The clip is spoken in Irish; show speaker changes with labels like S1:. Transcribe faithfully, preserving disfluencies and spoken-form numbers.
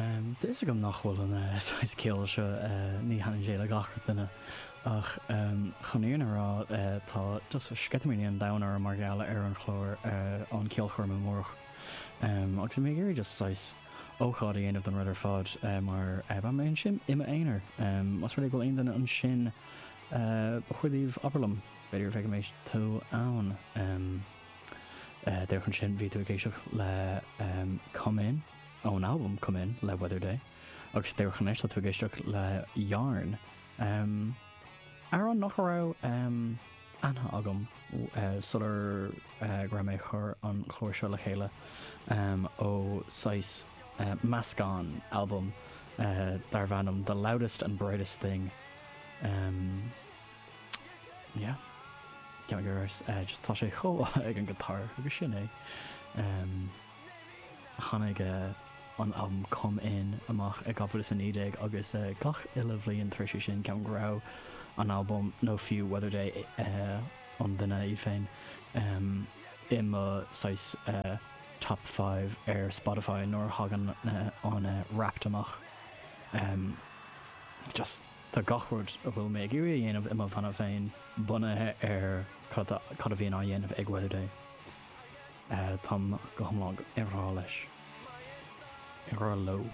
S1: Um, Tá fhios agam nach bhfuil an uh, saghas ceol seo uh, ní thaitníonn sé le gach duine ach um, chun fírinne a rá uh, tá just sceitimíní an domhain orm mar gheall ar an chlár uh, an ceolchoirm amárach. Um, agus mé ag iarraidh just saghas ócáid a dhéanamh den rud ar fad uh, mar uh, beidh mé ansin i m'aonar. Um, Más rud é go bhfuil aon duine ansin uh, ba chóir daoibh abair liom, b'fhéidir bheidh mé tú ann. Um, uh, Díreach ansin bhí tú ag éisteacht le um, Come In ón album Come In le Weatherday agus díreach anois tá tú ag éisteacht le Yarn. Um, amhrán nach raibh um, aithne agam uh, sular uh, go raibh mé chur an chlár seo le chéile um, ó saghas uh, meascán album uh, darb ainm The Loudest and Brightest Thing. Um, yeah. Cean uh, just tá sé chomh ag an guitar agus sin é. Um, tháinig uh, an album Come In amach i dhá mhíle is a naoi déag agus uh, gach uile bhliain tar éis sin ceapaim go raibh an album nó fiú Weatherday uh, an duine í féin um, i mo saghas uh, top five ar Spotify nuair a thagann uh, an uh, Wrapped amach. Um, just tá gach rud a bhfuil mé ag iarraidh a dhéanamh i mo bhanna féin bunaithe ar cad a cad a bhíonn á dhéanamh ag Weatherday. Uh, Táim go hiomlán i ngrá leis. I ngrá leo.